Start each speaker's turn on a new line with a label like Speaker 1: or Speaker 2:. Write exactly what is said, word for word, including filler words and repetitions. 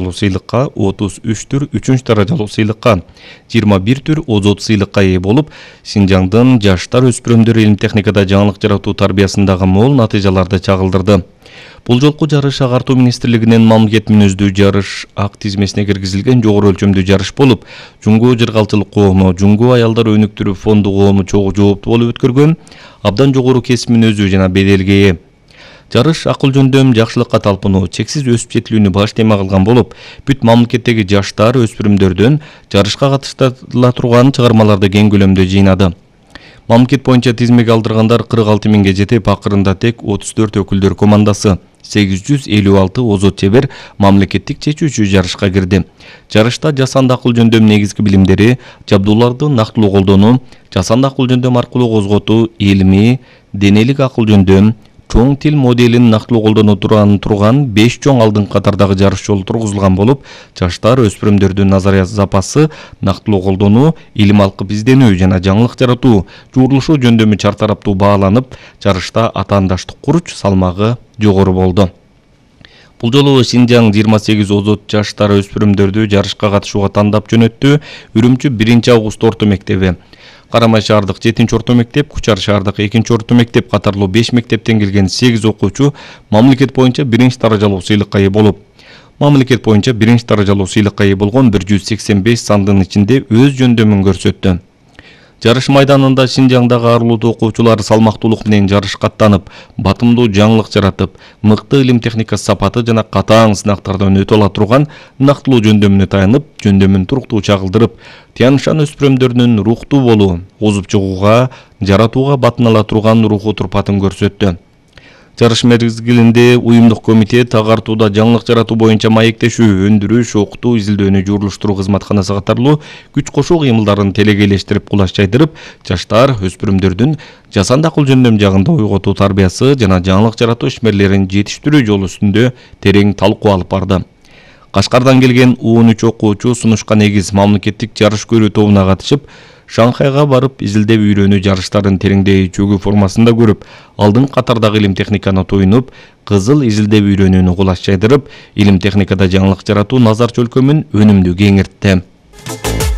Speaker 1: сыйлыкка, отуз үч түр үчүнчү даражалуу сыйлыкка, жыйырма бир түр озот сыйлыкка ээ болуп, Синжаңдын жаштар өспүрүмдөр илим техникада жаңылык жаратуу тарбиясындагы мол натыйжаларды чагылдырды. Бул жолку жарыш Агартуу министрлигинин мамлекет мүнөздүү жарыш ак тизмесине киргизилген жогору өлчөмдүү жарыш болуп, Жуңгу жыргалчылык коому, Жуңгу аялдар өнүктүрүү фонду коому чогуу жооптуу болуп өткөргөн, абдан жогору кесип мүнөзүү жана беделге ээ. Жарыш акыл жөндөм, жакшылыкка талпынуу, чексиз өсүп жетилүүнү баш тема кылган болуп, бүт мамлекеттеги жаштар, өспүрүмдөрдөн жарышка катыштыла турган чыгармаларды кең көлөмдө жыйнады. Мамлекет боюнча тизмеге алдыргандар кырк алты миңге жетип, акырында тек отуз төрт өкүлдөр командасы, сегиз жүз элүү алты озот чебер мамлекеттик чечүүчү жарышка кирди. Жарышта жасанды акыл жөндөм негизги билимдери, жабдууларды нактылуу колдонуу, жасанды акыл жөндөм аркылуу козготуу, илимий, денелик акыл жөндөм, чоң тил моделин нактылуу колдоно турган турган беш чоң алдыңкы катардагы жарыш жолу тургузулган болуп, жаштар, өспүрүмдөрдүн назария запасы, нактылуу колдонуу, илим алкып изденүү жана жаңылык жаратуу, жуурулушуу жөндөмү чартараптуу бааланып, жарышта атаандаштык куруч салмагы жогору болду. Бул жолу Синжаң жыйырма сегиз озот жаштар өспүрүмдөрдү жарышка катышууга тандап жөнөттү. Үрүмчү биринчи август орто мектеби, Карамай шаардык жетинчи орто мектеп, Кучар шаардык экинчи орто мектеп катарлуу беш мектептен келген сегиз окуучу мамлекет боюнча биринчи даражалуу сыйлыкка ээ болуп, мамлекет боюнча биринчи даражалуу сыйлыкка ээ болгон бир жүз сексен беш сандын ичинде өз жөндөмүн көрсөттү. Жарыш майданында Синжаңдагы арулуу окуучулар салмактуулук менен жарышка аттанып, батымдуу жаңылык жаратып, мыкты илим техника сапаты жана катаң сынактардан өтө ала турган нактылуу жөндөмүнө таянып, жөндөмүн туруктуу чагылдырып, Тяншан өспүрүмдөрүнүн рухтуу болуу, озуп чыгууга, жаратууга батынала турган руху турпатын көрсөттү. Жарыш мезгилинде уюмдук комитет Агартууда жаңылык жаратуу боюнча маектешүү, өндүрүш, окутуу, изилдөөнү жуурулуштуруу кызматканасы катарлуу күч кошуу кыймылдарын телекейлештирип, кулаш жайдырып, жаштар, өспүрүмдөрдүн жасанды акыл жөндөм жагында ойготуу тарбиясы жана жаңылык жаратуу ишмерлерин жетиштирүү жолу үстүндө терең талкуу алып барды. Кашкардан келген он үч окуучу сунушка негиз мамлекеттик жарыш көрүү тобуна катышып, Шанхайга барып изилдеп үйрөнүү жарыштарын тереңдей чөгүү формасында көрүп, алдыңкы катардагы илим техниканы туйнуп, кызыл изилдеп үйрөнүүнү кулаш жайдырып, илим техникада жаңылык жаратуу назар чөлкөмүн өнүмдүү кеңиртти.